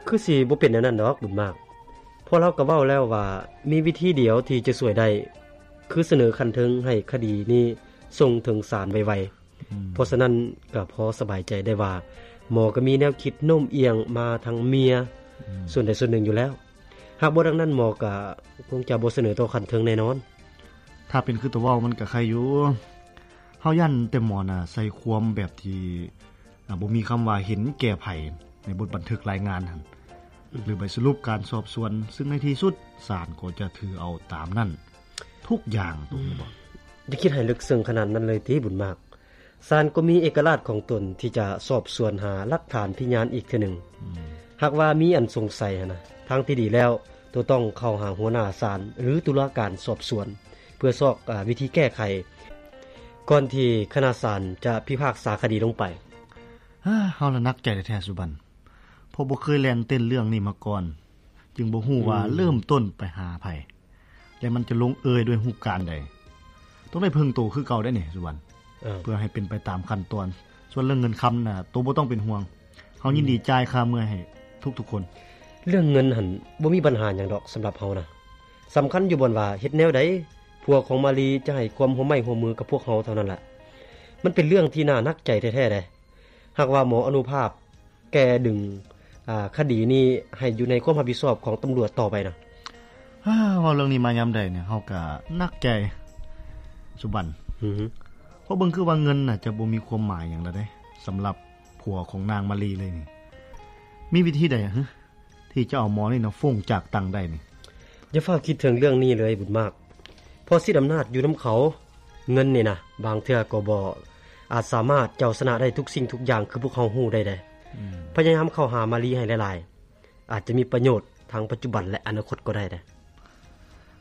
ຄືຊິບໍ່ເປັນແນວນັ້ນດອກ ບຸນມາກ. ເພາະລາວກໍເວົ້າແລ້ວວ່າ ມີວິທີດຽວທີ່ຈະຊ່ວຍໄດ້ ຄືສະເໜີຂັ້ນເທິງໃຫ້ຄະດີນີ້ສົ່ງເຖິງສານໄວໆ. ອືມ ເພາະສະນັ້ນກໍພໍສະບາຍໃຈໄດ້ວ່າ ໝໍກໍມີແນວຄິດໂນ້ມອຽງມາທາງເມຍ ອືມ ສ່ວນໃດສ່ວນໜຶ່ງຢູ່ແລ້ວ. ຫາກບໍ່ດັ່ງນັ້ນ ໝໍກໍຄົງຈະບໍ່ສະເໜີຕໍ່ຂັ້ນເທິງແນ່ນອນ. ຖ້າເປັນຄືໂຕເວົ້າມັນກໍໄຄຢູ່. ເຮົາຢ້ານແຕ່ໝໍນະໃສ່ຄວາມແບບທີ່ ອາ ບໍ່ມີຄຳວ່າເຫັນແກ່ໃຜໃນບົດບັນທຶກລາຍງານຫັ້ນ ອືມ ຫຼືໃບສະຫຼຸບການສອບສວນ, ຊຶ່ງໃນທີ່ສຸດສານກໍຈະຖືເອົາຕາມນັ້ນທຸກຢ່າງ. ອືມ ຕົງນີ້ບໍ? ຢ່າຄິດໃຫ້ເລິກເຊິ່ງຂະໜາດນັ້ນເລີຍຕິ ບຸນມາກ. ສານກໍມີເອກະລາດຂອງຕົນທີ່ຈະສອບສວນຫາຫຼັກຖານພະຍານອີກເທື່ອໜຶ່ງ. ອືມ ຫາກວ່າມີອັນສົງໄສຫັ້ນນະ, ທາງທີ່ດີແລ້ວ ໂຕຕ້ອງເຂົ້າຫາຫົວໜ້າສານ ຫຼື ຕຸລາການສອບສວນ ເພື່ອຊອກ ອາ ວິທີແກ້ໄຂ ກ່ອນທີ່ຄະນະສານຈະພິພາກສາຄະດີລົງໄປ. ເຮົາລະໜັກໃຈແທ້ໆ ສຸບັນ, ເພາະບໍ່ເຄີຍແລ່ນເຕັ້ນເລື່ອງນີ້ມາກ່ອນ, ຈຶ່ງບໍ່ຮູ້ວ່າ ອືມ ເລີ່ມຕົ້ນໄປຫາໃຜ ແລະ ມັນຈະລົງເອີຍດ້ວຍຮູບການໃດ. ຕ້ອງໄດ້ເພິ່ງໂຕຄືເກົ່າໄດ໋ນີ້ ສຸບັນ, ເອີ ເພື່ອໃຫ້ເປັນໄປຕາມຂັ້ນຕອນ. ສ່ວນເລື່ອງເງິນຄຳນະ ໂຕບໍ່ຕ້ອງເປັນຫ່ວງ, ເຮົາຍິນດີ ອືມ ຈ່າຍຄ່າເມື່ອຍໃຫ້ທຸກໆຄົນ. ເລື່ອງເງິນຫັ້ນບໍ່ມີບັນຫາຫຍັງດອກ ສຳລັບເຮົານະ. ສຳຄັນຢູ່ບ່ອນວ່າເຮັດແນວໃດ ຜົວຂອງມາລີຈະໃຫ້ຄວາມຮ່ວມໄມ້ຮ່ວມມືກັບພວກເຮົາເທົ່ານັ້ນລະ. ມັນເປັນເລື່ອງທີ່ໜ້າໜັກໃຈແທ້ໆເດ້. ຫາກວ່າໝໍອະນຸພາບແກ່ດຶງ ອາ ຄະດີນີ້ໃຫ້ຢູ່ໃນຄວາມຮັບຜິດຊອບຂອງຕຳຫຼວດຕໍ່ໄປນະ. ເວົ້າເລື່ອງນີ້ມາຍາມໃດນີ້ ເຮົາກະໜັກໃຈ ສຸບັນ. ອືຮຶ ເພາະເບິ່ງຄືວ່າເງິນນະຈະບໍ່ມີຄວາມໝາຍຫຍັງລະເດ້ ສຳລັບຜົວຂອງນາງມາລີເລີຍນີ້. ມີວິທີໃດຫຶ ທີ່ຈະເອົາໝໍນີ້ນະ ຟົ້ງຈາກຕັງໄດ້ນີ້? ຢ່າຟ້າວຄິດເຖິງເລື່ອງນີ້ເລີຍ ບຸນມາກ. ເພາະສິດອຳນາດຢູ່ນຳເຂົາ, ເງິນນີ້ນະ ບາງເທື່ອກໍບໍ່ອາດສາມາດເຈົ້າຊະນະໄດ້ທຸກສິ່ງທຸກຢ່າງຄືພວກເຮົາຮູ້ໄດ້ເດ້. ອືມ ພະຍາຍາມເຂົ້າຫາມາລີໃຫ້ຫຼາຍໆ ອາດຈະມີປະໂຫຍດທັງປັດຈຸບັນ ແລະ ອະນາຄົດກໍໄດ້ເດ້.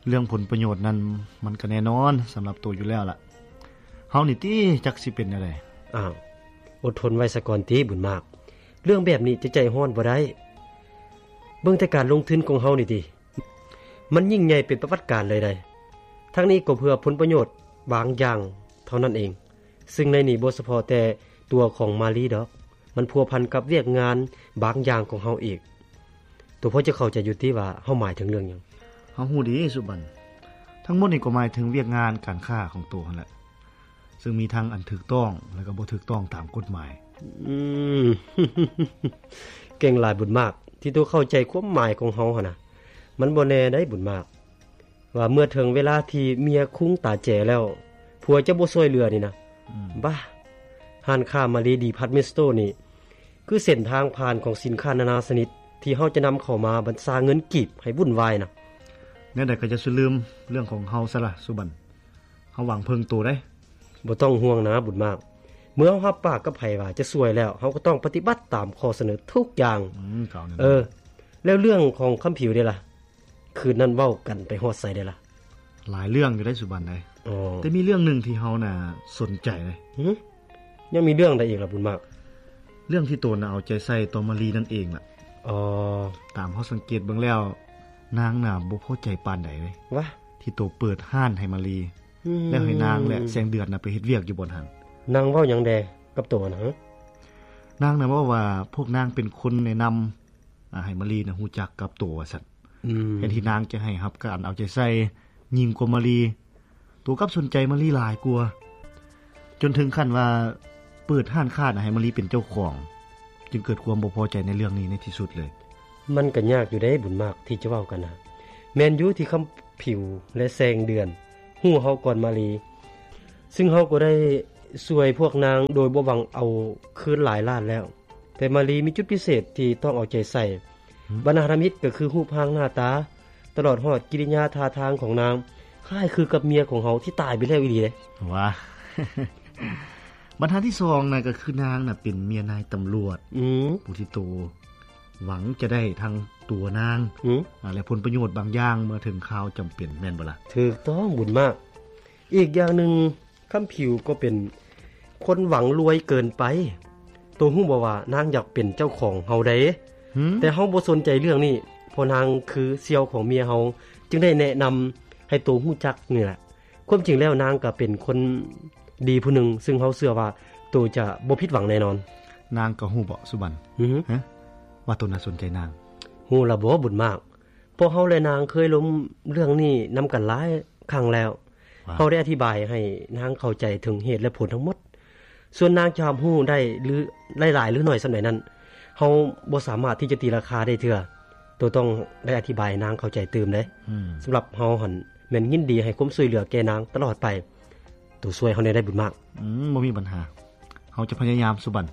ເລື່ອງຜົນປະໂຫຍດນັ້ນ ມັນກໍແນ່ນອນສຳລັບໂຕຢູ່ແລ້ວລະ. ເຮົານີ້ຕິ ຈັກຊິເປັນແນວໃດ? ອ້າວ ອົດທົນໄວ້ສາກ່ອນຕິ ບຸນມາກ. ເລື່ອງແບບນີ້ຈະໃຈຮ້ອນບໍ່ໄດ້. ເບິ່ງແຕ່ການລົງທຶນຂອງເຮົານີ້ຕິ. ມັນຍິ່ງໃຫຍ່ເປັນປະຫວັດການເລີຍໃດ໋. ທັງນີ້ກໍເພື່ອຜົນປະໂຫຍດບາງຢ່າງເທົ່ານັ້ນເອງ, ຊຶ່ງໃນນີ້ບໍ່ສະເພາະແຕ່ຕົວຂອງມາລີດອກ, ມັນພົວພັນກັບວຽກງານບາງຢ່າງຂອງເຮົາອີກ. ໂຕພໍຈະເຂົ້າໃຈຢູ່ຕິວ່າເຮົາໝາຍເຖິງເລື່ອງຫຍັງ? ເຮົາຮູ້ດີ ສຸບັນ. ທັງໝົດນີ້ກໍໝາຍເຖິງວຽກງານການຄ້າຂອງໂຕຫັ້ນແຫຼະ. ຊຶ່ງມີທັງອັນຖືກຕ້ອງ ແລະກໍບໍ່ຖືກຕ້ອງຕາມກົດໝາຍ. ອືມ ເກັ່ງຫຼາຍບຸນມາກ ທີ່ໂຕເຂົ້າໃຈຄວາມໝາຍຂອງເຮົາຫັ້ນນະ. ມັນບໍ່ແນ່ໃດບຸນມາກ ວ່າເມື່ອເຖິງເວລາທີ່ເມຍຄຸງຕາແຈແລ້ວ ຜົວຈະບໍ່ຊ່ວຍເຫຼືອນີ້ນະ. ອືມ ບ້າ ຮ້ານຄ້າມາລີດີພາດເມັນສະໂຕນີ້ ຄືເສັ້ນທາງຜ່ານຂອງສິນຄ້ານານາຊະນິດ ທີ່ເຮົາຈະນຳເຂົ້າມາບັນຊາເງິນກີບໃຫ້ວຸ່ນວາຍນະ. ແນວໃດກໍຢ່າສູ່ລືມເລື່ອງຂອງເຮົາຊະລະ ສຸບັນ. ເຮົາຫວັງເພິ່ງໂຕໄດ໋. ບໍ່ຕ້ອງຫ່ວງນາບຸນມາກ. ເມື່ອເຮົາຮັບປາກກັບໃຜວ່າຈະຊ່ວຍແລ້ວ, ເຮົາກໍຕ້ອງປະຕິບັດຕາມຂໍ້ສະເໜີທຸກຢ່າງ. ອືມ ເອີ ແລ້ວເລື່ອງຂອງຄຳຜິວເດລະ? ຄືນນັ້ນເວົ້າກັນໄປຮອດໃສເດລະ? ຫຼາຍເລື່ອງຢູ່ໄດ໋ ສຸບັນເອີຍ. ອໍ ແຕ່ມີເລື່ອງໜຶ່ງທີ່ເຮົານະສົນໃຈເດ. ຫຶ? ຍັງມີເລື່ອງໃດອີກລະບຸນມາກ? ເລື່ອງທີ່ໂຕນະເອົາໃຈໃສ່ຕໍ່ມາລີນັ້ນເອງລະ. ອໍ ຕາມເຮົາສັງເກດເບິ່ງແລ້ວ ນາງນະບໍ່ພໍໃຈປານໃດເລີຍ. ວະ? ທີ່ໂຕເປີດຮ້ານໃຫ້ມາລີ ອືມ ແລ້ວໃຫ້ນາງ ແລະ ແສງເດືອນນະໄປເຮັດວຽກຢູ່ບ່ອນຫັ້ນ. ນາງເວົ້າຫຍັງແດ່ກັບໂຕຫັ້ນນະ? ນາງນະເວົ້າວ່າພວກນາງເປັນຄົນແນະນຳ ອາ ໃຫ້ມາລີນະຮູ້ຈັກກັບໂຕວ່າຊັ້ນ. ອືມ ແທນທີ່ນາງຈະໃຫ້ຮັບການເອົາໃຈໃສ່ຍິ່ງກວ່າມາລີ, ໂຕກັບສົນໃຈມາລີຫຼາຍກວ່າ, ຈົນເຖິງຂັ້ນວ່າເປີດຮ້ານຄ້ານະໃຫ້ມາລີເປັນເຈົ້າຂອງ, ຈຶ່ງເກີດຄວາມບໍ່ພໍໃຈໃນເລື່ອງນີ້ໃນທີ່ສຸດເລີຍ. ມັນກໍຍາກຢູ່ເດ້ບຸນມາກທີ່ຈະເວົ້າກັນນະ. ແມ່ນຢູ່ທີ່ຄຳຜິວ ແລະ ແສງເດືອນຮູ້ເຮົາກ່ອນມາລີ, ຊຶ່ງເຮົາກໍໄດ້ຊ່ວຍພວກນາງໂດຍບໍ່ຫວັງເອົາຄືນຫຼາຍລ້ານແລ້ວ. ແຕ່ມາລີມີຈຸດພິເສດທີ່ຕ້ອງເອົາໃຈໃສ່. ຫຶ? ບັນຫາທຳອິດກໍຄືຮູບຮ່າງໜ້າຕາ, ຕະຫຼອດຮອດກິລິຍາທ່າທາງຂອງນາງ ຄ້າຍຄືກັບເມຍຂອງເຮົາທີ່ຕາຍໄປແລ້ວອີ່ຫຼີເດ້. ຫວາ. ບັນຫາທີສອງນະ ກໍຄືນາງນະເປັນເມຍນາຍຕຳຫຼວດ. ອືມ. ຜູ້ທີ່ໂຕຫວັງຈະໄດ້ທັງຕົວນາງ ຫຶ? ອາ ແລະ ຜົນປະໂຫຍດບາງຢ່າງເມື່ອເຖິງຄາວຈຳເປັນ, ແມ່ນບໍ່ລະ? ຖືກຕ້ອງ, ບຸນມາກ. ອີກຢ່າງໜຶ່ງ, ຄຳຜິວກໍເປັນຄົນຫວັງລວຍເກີນໄປ. ໂຕຮູ້ບໍ່ວ່ານາງຢາກເປັນເຈົ້າຂອງເຮົາໃດ໋. ຫືມ? ແຕ່ເຮົາບໍ່ສົນໃຈເລື່ອງນີ້, ເພາະນາງຄືສ່ຽວຂອງເມຍເຮົາ, ຈຶ່ງໄດ້ແນະນຳໃຫ້ໂຕຮູ້ຈັກນີ້ແຫຼະ. ຄວາມຈິງແລ້ວນາງກໍເປັນຄົນດີຜູ້ໜຶ່ງ, ຊຶ່ງເຮົາເຊື່ອວ່າໂຕຈະບໍ່ຜິດຫວັງແນ່ນອນ. ນາງກໍຮູ້ເບາະ ສຸບັນ? ຫືມ? ຮະ? ວ່າໂຕໜ້າສົນໃຈນາງ. ຮູ້ລະບໍ່ ບຸນມາກ? ພວກເຮົາ ແລະ ນາງເຄີຍລົມເລື່ອງນີ້ນຳກັນຫຼາຍຄັ້ງແລ້ວ. ເຮົາໄດ້ອະທິບາຍໃຫ້ນາງເຂົ້າໃຈເຖິງເຫດ ແລະ ຜົນທັງໝົດ. ສ່ວນນາງຈະຮັບຮູ້ໄດ້ ຫຼື ຫຼາຍໆ ຫຼື ໜ້ອຍສ່ຳໃດນັ້ນ ເຮົາບໍ່ສາມາດທີ່ຈະຕີລາຄາໄດ້ເທື່ອ. ໂຕຕ້ອງໄດ້ອະທິບາຍໃຫ້ນາງເຂົ້າໃຈຕື່ມເດ້. ສຳລັບເຮົາຫັ້ນ ແມ່ນຍິນດີໃຫ້ຄວາມຊ່ວຍເຫຼືອແກ່ນາງຕະຫຼອດໄປ. ໂຕຊ່ວຍເຮົາແດ່ໄດ໋ ບຸນມາກ. ອືມ ບໍ່ມີບັນຫາ. ເຮົາຈະພະຍາຍາມ ສຸບັນ.